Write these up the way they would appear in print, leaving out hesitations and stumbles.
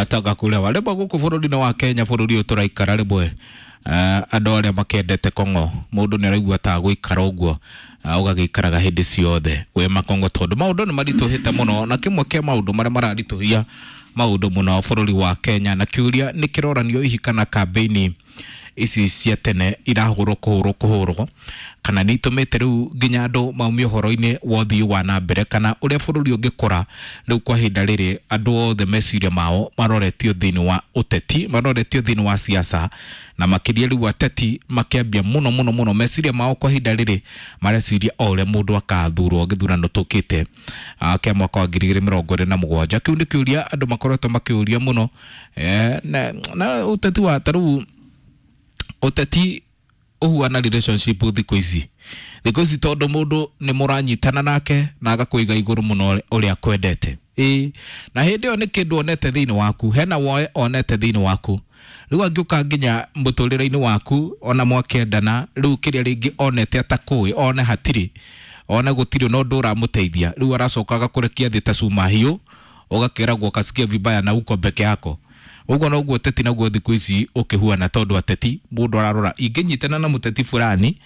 Toka kulewa rĩmwe gũkũ bũrũri-inĩ wa Kenya, bũrũri ũyũ tũraikara rĩmwe, andũ arĩa makendete kong'o, mũndũ nĩ araigua ta gũikara ũguo, ũgagĩikaraga hĩndĩ ciothe wĩ makong'o, tondũ maũndũ nĩ maritũhĩte mũno, na kĩmwe kĩa maũndũ marĩa mararitũhia maũndũ mũno bũrũri wa Kenya, na kĩũria nĩ kĩroranio hihi kana kambĩini ici cia tene irahũrwo kũhũrwo kũhũrwo, kana nĩ itũmĩte rĩu nginya andũ maumie ũhoro-inĩ wa ũthii wa na mbere, kana ũrĩa bũrũri ũngĩkũra. Rĩu kwa ihinda rĩrĩ andũ othe meciria mao maroretio thĩinĩ wa ũteti, maroretio thĩinĩ wa siasa, na makĩria rĩu ateti makĩambia mũno mũno mũno meciria mao kwa ihinda rĩrĩ mareciria o ũrĩa mũndũ akathurwo gĩthurano tũkĩte kĩa mwaka wa 2027. Kĩu nĩ kĩũria andũ makoretwo makĩũria mũno, na ũteti wa ta rĩu ũteti ũhuana relationship thikũ ici, tondũ mũndũ nĩ mũranyitana nake na agakũiga igũrũ mũno ũrĩa akwendete. Ĩĩ, na hĩndĩ ĩyo nĩ kĩndũ onete thĩinĩ waku, hena woe onete thĩinĩ waku. Rĩu angĩũka nginya mũtũrĩre-inĩ waku, ona mwakĩendana, rĩu kĩrĩa rĩngĩ onete atakũĩ, one hatirĩ, one gũtirĩ na ũndũ ũramũteithia, rĩu aracoka agakũrekia thĩ ta cuma hiũ, ũgakĩragwo ukasikia vibaya na uko peke yako. Ũguo noguo ũteti naguo thikũ ici ũkĩhuana, tondũ ateti mũndũ ararora, ingĩnyitana na mũteti fulani,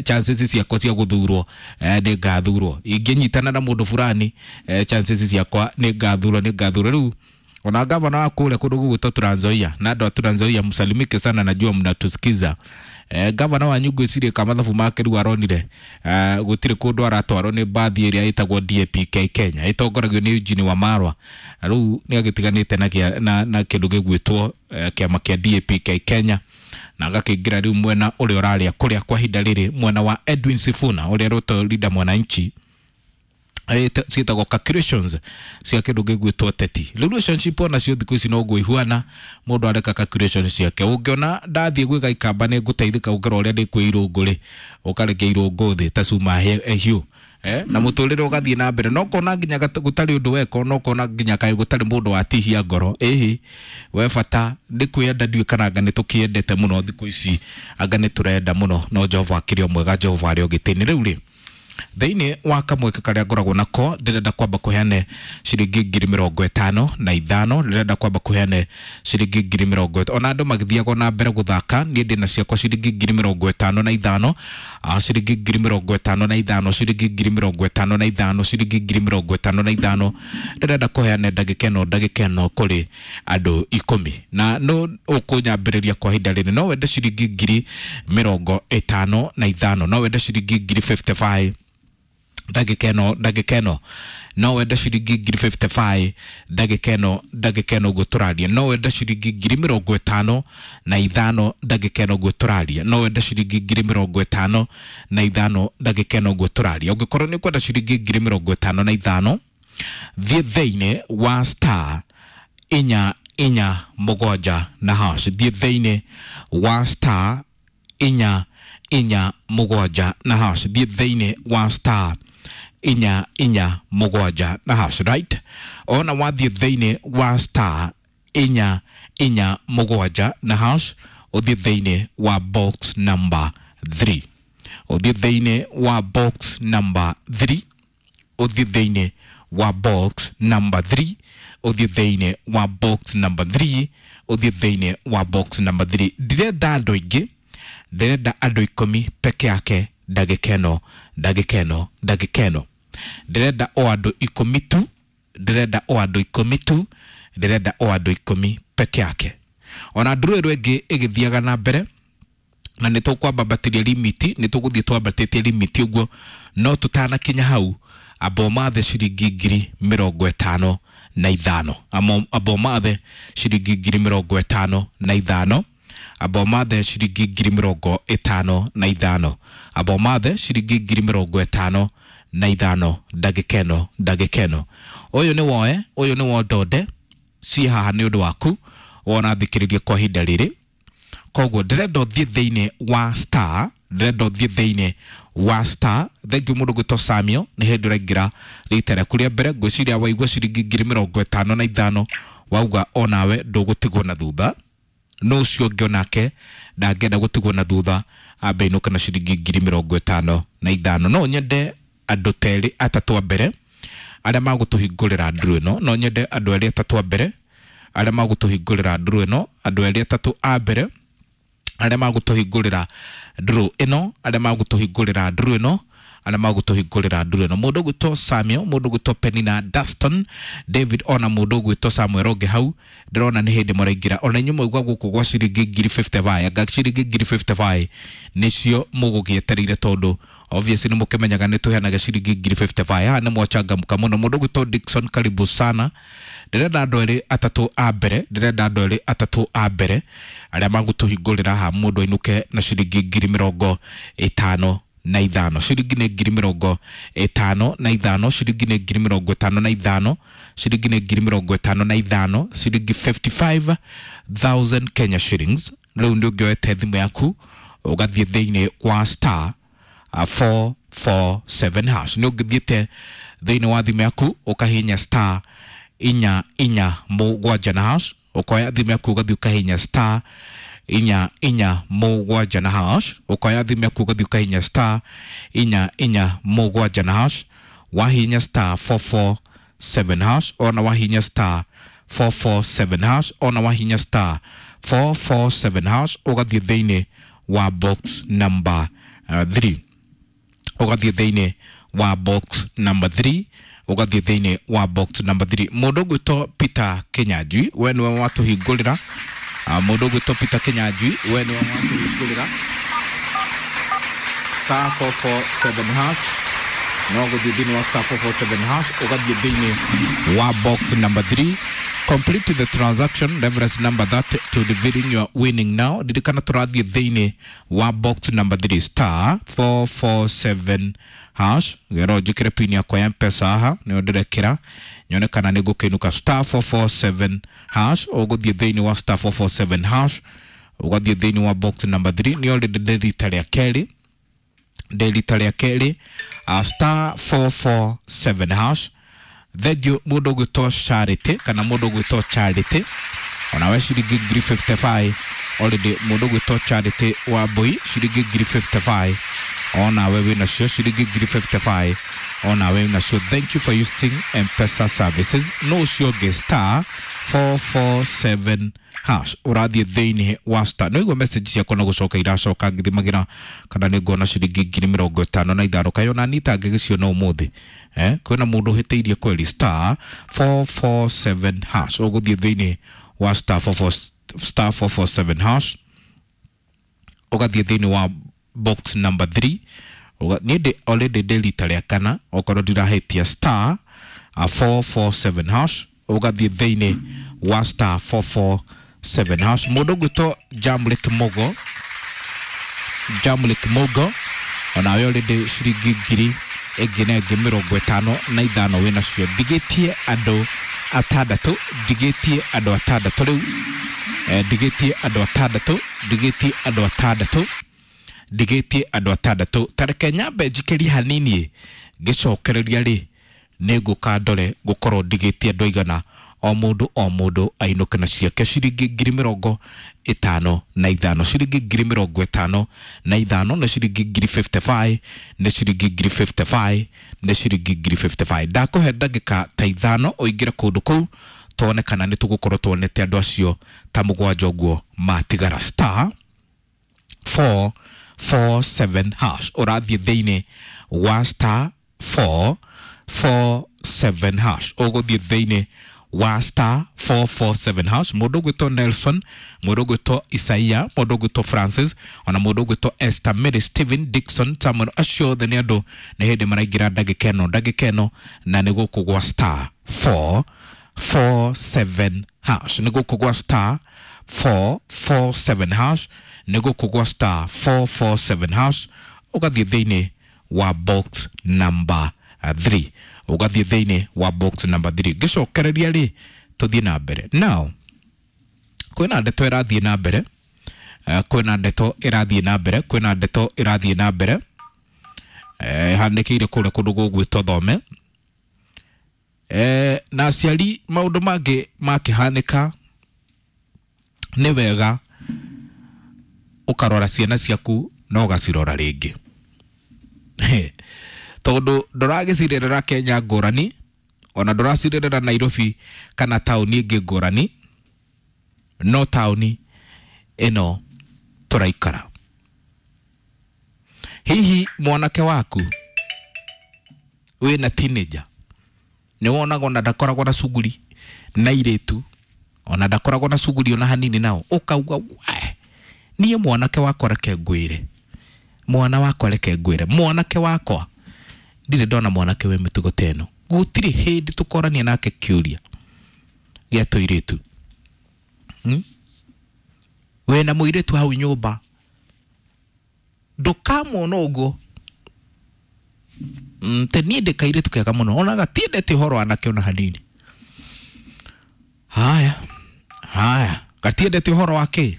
chances ciakwa cia gũthurwo, nĩ ngathurwo. Ingĩnyitana na mũndũ fulani, chances ciakwa nĩ ngathurwo, nĩ ngathurwo. Rĩu ona gavana wa kũrĩa kũndũ gũgwĩtwo Trans Nzoia, na andũ a Trans Nzoia msalimike sana, najua mnatusikiza. Gavana wanyu ngwĩciria ka mathabu make rĩu aronire, gũtirĩ kũndũ aratwarwo nĩ mbathi ĩrĩa ĩtagwo DAPK Kenya ĩtongoragio nĩ Eugene Wamalwa, na rĩu nĩ agĩtiganĩte na kĩndũ gĩgwĩtwo kĩama kĩa DAPK Kenya, na agakĩingĩra rĩu mwena ũrĩa ũrarĩa kũrĩa kwa ihinda rĩrĩ, mwena wa Edwin Sifuna ũrĩa rũto leader Mwananchi. Ciĩtagwo calculations cia kĩndũ gĩgwĩtwo teti. Rĩu relationship onacio thikũ ici noguo ihuana, mũndũ areka calculation ciake. Ũngĩona ndathiĩ gwĩka ikamba nĩ ngũteithĩka gũkĩra ũrĩa ndĩ kwĩ irũngũ rĩ, ũkarekia irũngũ thĩ ta cuma hiũ, na mũtũrĩre ũgathiĩ na mbere, no kona nginya gũtarĩ ũndũ weka, no kona nginya kaĩ gũtarĩ mũndũ watihia ngoro. Ĩhĩ, we bata nĩ kwĩyenda, ndiũĩ kana anga nĩ tũkĩendete mũno thikũ ici, anga nĩ tũrenda mũno, no Jehova akĩrĩ o mwega, Jehova arĩ o gĩtĩ-inĩ. Rĩu rĩ, thĩinĩ wa kamweke karĩa ngoragwo nako, ndĩrenda kwamba kũheane ciringi 55,000. Ndĩrenda kwamba kũheane ciringi 50,000. Ona andũ magĩthiaga na mbere gũthaka, niĩ ndĩna ciakwa ciringi 55,000, ciringi 55,000, ciringi 55,000, ciringi 55,000. Ndĩrenda kũheane ndagĩka ĩno kũrĩ andũ 10, na no ũkũnyambĩrĩria kwa ihinda rĩrĩ. No wende ciringi 55,000? No wende ciringi ngiri 55 ndagĩka ĩno? Ndagĩka ĩno no wende ciringi ngiri 55 ndagĩka ĩno? Ndagĩka ĩno ũguo tũraria, no wende ciringi 55,000 ndagĩka ĩno ũguo tũraria? No wende ciringi 55,000 ndagĩka ĩno ũguo tũraria? Ũngĩkorwo nĩ ũkwenda ciringi 55,000, thiĩ thĩinĩ wa *447#. Thiĩ thĩinĩ wa *447#. Thiĩ thĩinĩ wa *447#, right? Ona wathiĩ thĩinĩ wa *447#, ũthiĩ thĩinĩ wa box number 3, ũthiĩ thĩinĩ wa box number 3, ũthiĩ thĩinĩ wa box number 3, ũthiĩ thĩinĩ wa box number 3, ũthiĩ thĩinĩ wa box number 3. Ndirenda andũ aingĩ, ndĩrenda andũ 10 peke yake ndagĩka ĩno, ndagĩka ĩno, ndagĩka ĩno. Ndĩrenda o andũ 10 tu, ndĩrenda o andũ 10 tu, ndĩrenda o andũ 10 peke yake. Ona nduru ĩro ĩngĩ ĩgĩthiaga na mbere, na nĩ tũkwambambatĩria limiti, nĩ tũgũthiĩ twambatĩtie limiti ũguo, no tũtanakinya hau, amba ũmathe ciringi 55,000. Amba ũmathe ciringi 55,000. Amba ũmathe ciringi 55,000. Amba ũmathe ciringi 55,000 ndagĩka ĩno, ndagĩka ĩno. Ũyũ nĩ woe, ũyũ nĩ wondonde ciĩ haha nĩ ũndũ waku wona thikĩrĩria kwa ihinda rĩrĩ. Koguo ndĩrenda ũthiĩ thĩinĩ wa star, ndĩrenda ũthiĩ thĩinĩ wa star. Thank you mũndũ gwĩtwo Samuel, nĩ hĩndĩ ũraingĩra rita rĩaku rĩa mbere. Ngwĩciria waigua ciringi 55,000, wauga onawe ndũgũtigwo na thutha. No ũcio ũngĩ onake ndangĩenda gũtigwo na thutha, ambe inũke na ciringi 55,000. No nyende andũ terĩ atatũ a mbere arĩa magũtũhingũrĩra nduru ĩno. No nyende andũ erĩ atatũ a mbere arĩa magũtũhingũrĩra nduru ĩno, andũ erĩ atatũ a mbere arĩa magũtũhingũrĩra nduru ĩno, arĩa magũtũhingũrĩra nduru ĩno, arĩa magũtũhingũrĩra nduru ĩno, mũndũ ũgwĩtwo Samuel, mũndũ ũgwĩtwo Penina, Dustin, David, ona mũndũ ũgwĩtwo Samuel ũngĩ hau ndĩrona nĩ hĩndĩ mũraingĩra. Ona inyuĩ mwaigua gũkũ gwa ciringi ngiri 55, anga ciringi ngiri 55 nĩcio mũgũgĩetereire, tondũ obviously nĩ mũkĩmenyaga nĩ tũheanaga ciringi ngiri 55. Haha nĩ mwachangamka mũno. Mũndũ ũgwĩtwo Dickson, karibu sana. Ndĩrenda andũ erĩ atatũ a mbere, ndĩrenda andũ erĩ atatũ a mbere arĩa magũtũhingũrĩra haha, mũndũ ainũke na ciringi ngiri mĩrongo ĩtano na ithano. Ciringi nĩ ngiri mĩrongo ĩtano na ithano, ciringi nĩ ngiri mĩrongo ĩtano na ithano, ciringi nĩ ngiri mĩrongo ĩtano na ithano, ciringi 55,000 Kenya shillings. Rĩu nĩ ũngĩoete thimũ yaku ũgathiĩ thĩinĩ wa star 447 hash, nĩ ũngĩthiĩte thĩinĩ wa thimũ yaku ũkahihinya star inya inya mũgwanja na hash, ũkoya thimũ yaku ũgathiĩ ũkahihinya star inya inya mũgwanja na hash, ũkoya thimũ yaku ũgathiĩ ũkahihinya star inya inya mũgwanja na hash, wahihinya star 447 hash, ona wahihinya star 447 hash, ona wahihinya star 447 hash, ũgathiĩ thĩinĩ wa box number 3, ũgathiĩ thĩinĩ wa box number 3, ũgathiĩ thĩinĩ wa box number 3. Mũndũ ũgwĩtwo Peter Kinyanjui, we nĩwe watũhingũrĩra. Mũndũ ũgwĩtwo Peter Kinyanjui, we nĩwe watũhingũrĩra star 447 hash. No gũthiĩ thĩinĩ wa star 447 hash, ũgathiĩ thĩinĩ wa box number 3, complete the transaction reference number that to revealing your winning now. Ririkana tũrathiĩ thĩinĩ wa box number 3, star 447 hash. Gero njĩkĩre pin yakwa ya Mpesa haha, nĩyo ndĩrekĩra nyone kana nĩ ngũkĩinũka. Star 447 hash, ũgũthiĩ thĩinĩ wa star 447 hash, ũgathiĩ thĩinĩ wa box number 3. Nĩ already ndĩ rita rĩa kerĩ, ndĩ rita rĩa kerĩ, star 447 hash. Thengiũ mũndũ ũgwĩtwo Charity kana mũndũ ũgwĩtwo Charity, onawe ciringi ngiri 55 already. Mũndũ ũgwĩtwo Charity wa Mbui, ciringi ngiri 55, onawe wĩnacio ciringi ngiri 55, onawe wĩnacio. Thank you for using Mpesa services. No ũcio ũngĩ, star 447 hash, ũrathiĩ thĩinĩ wa star. No igua message ciakwa no gũcoka iracoka ngĩthimagĩra kana nĩ nguona ciringi ngiri mĩrongo ĩtano na ithano, kaĩ ona niĩ itangĩgĩciona ũmũthĩ, eh? Kwĩna mũndũ ũhĩtĩirie kweri. Star 447 hash, ũgũthiĩ thĩinĩ wa star 44, star 447 hash, ũgathiĩ thĩinĩ wa box number 3. Niĩ ndĩ already ndĩ rita rĩa kana okorwo ndirahĩtia, star 447 hash, ũgathiĩ thĩinĩ wa star 447 hash. Mũndũ ũgwĩtwo Jamlik Mugo, Jamlik Mugo, onawe already ciringi ngiri ĩngĩ na ĩngĩ mĩrongo ĩtano na ithano wĩnacio. Ndigĩtie andũ atandatũ, ndigĩtie andũ atandatũ rĩu, ndigĩtie andũ atandatũ, ndigĩtie andũ atandatũ, ndigĩtie andũ atandatũ. Tareke nyambe njikĩrie hanini, ngĩcokereria rĩ nĩ ngũka ndore ngũkorwo ndigĩtie andũ aigana, o mũndũ o mũndũ ainũke na ciake ciringi ngiri mĩrongo ĩtano na ithano, ciringi ngiri mĩrongo ĩtano na ithano, nĩ ciringi ngiri 55, nĩ ciringi ngiri 55, nĩ ciringi ngiri 55. Ndakũhe ndagĩka ta ithano ũingĩre kũndũ kũu tuone kana nĩ tũgũkorwo tuonete andũ acio ta mũgwanja ũguo matigara. Star 447 hash, ũrathiĩ thĩinĩ wa star 447 hash, ũgũthiĩ thĩinĩ wa star 447 hash. Mũndũ ũgwĩtwo Nelson, mũndũ ũgwĩtwo Isaia, mũndũ ũgwĩtwo Francis, ona mũndũ ũgwĩtwo Esther, Mary, Stephen, Dixon, Samuel, acio othe nĩ andũ nĩ hĩndĩ maraingĩra ndagĩka ĩno, ndagĩka ĩno, na nĩ gũkũ gwa star 447 hash, nĩ gũkũ gwa star 447 hash, nĩ gũkũ gwa star 447 hash, ũgathiĩ thĩinĩ wa box number 3, ũgathiĩ thĩinĩ wa box number 3. Ngĩcokereria rĩ tũthiĩ na mbere. Now kwĩna ndeto ĩrathiĩ na mbere, kwĩna ndeto ĩrathiĩ na mbere, kwĩna ndeto ĩrathiĩ na mbere, ĩhanĩkĩire kũrĩa kũndũ gũgwĩtwo Thome, na aciari maũndũ mangĩ makĩhanĩka nĩ wega ũkarora ciana ciaku na ũgacirora rĩngĩ, tondũ ndũragĩcirerera Kenya ngũrani, ona ndũracirerera Nairobi kana taũni ĩngĩ ngũrani. No taũni ĩno tũraikara. Hihi mwanake waku wĩna teenager nĩ wonaga ona ndakoragwo na cuguri na irĩtu, ona ndakoragwo na cuguri ona hanini nao, ũkauga we niĩ mwanake wakwa reke ngwĩre, mwana wakwa reke ngwĩre, mwanake wakwa ndirĩ ndona mwanake wĩ mĩtugo ta ĩno. Gũtirĩ hĩndĩ tũkorania nake kĩũria gĩa tũirĩtu. Wĩna mũirĩtu hau nyũmba ndũkamwona ũguo. Te niĩ ndĩ kairĩtu kega mũno, ona gatiendete ũhoro anake ona hanini. Haya haya, gatiendete ũhoro wa kĩ?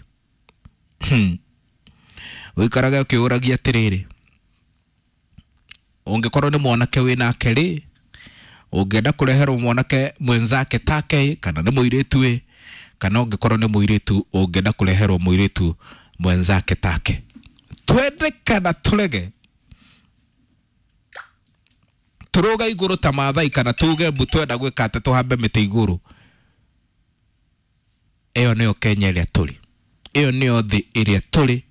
Ũikarage ũkĩũragia atĩrĩrĩ, ũngĩkorwo nĩ mwanake wĩnake rĩ, ũngĩenda kũreherwo mwanake mwenzake take kana nĩ mũirĩtu ĩ, kana ũngĩkorwo nĩ mũirĩtu ũngĩenda kũreherwo mũirĩtu mwenzake take. Twende kana tũrege, tũrũge igũrũ ta Maathai kana tuge mbu twenda gwĩka atĩ tũhambe mĩtĩ igũrũ. Ĩyo nĩyo Kenya ĩrĩa tũrĩ, ĩyo nĩyo thĩ ĩrĩa tũrĩ.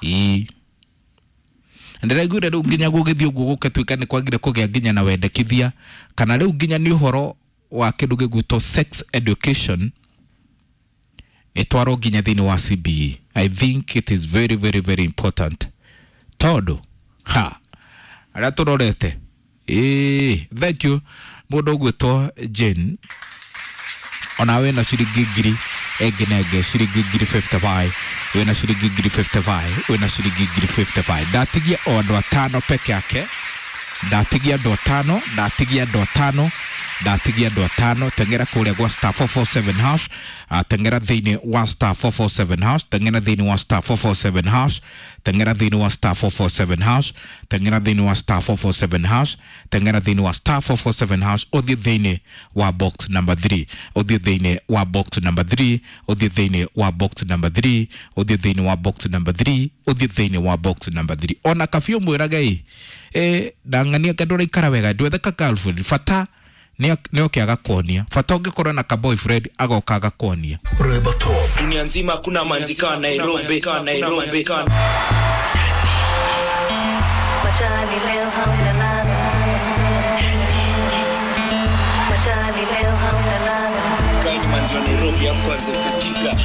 Ĩĩ, ndĩraiguire rĩu nginya gũgĩthiĩ ũguo gũgĩtuĩka nĩ kwagire kũgĩa nginya na wendekithia, kana rĩu nginya nĩ ũhoro wa kĩndũ gĩgwĩtwo sex education ĩtwarwo nginya thĩinĩ wa CBE. I think it is very very very important tondũ ha arĩa tũrorete. Ĩĩ, thank you mũndũ ũgwĩtwo Jane, ona wĩna ciringi ngiri ĩngĩ na ĩngĩ, ciringi ngiri 55, wĩna ciringi ngiri 55, wĩna ciringi ngiri 55. Ndatigia o andũ atano peke yake, ndatigia andũ atano, ndatigia andũ atano, ndatigia andũ atano. Teng'era kũrĩa gwa star 447 hash, teng'era thĩinĩ wa star 447 hash, teng'era thĩinĩ wa star 447 hash, teng'era thĩinĩ wa star 447 hash, teng'era thĩinĩ wa star 447 hash, teng'era thĩinĩ wa star 447 hash, ũthiĩ thĩinĩ wa box number 3, ũthiĩ thĩinĩ wa box number 3, ũthiĩ thĩinĩ wa box number 3, ũthiĩ thĩinĩ wa box number 3, ũthiĩ thĩinĩ wa box number 3. Ona kabiũ mwĩrage ĩ ndang'ania ke ndũraikara wega, ndwethe ka girlfriend, bata nĩ oke agakuonia, bata ũngĩkorwo na ka boyfriend agoka agakuonia. Reba Top. Dunia nzima hakuna manzi kama Nairobi, kama Nairobi, kama Machali leo hamjalala, machali leo hamjalala. Kind manzi wa Nairobi ya kwanza katika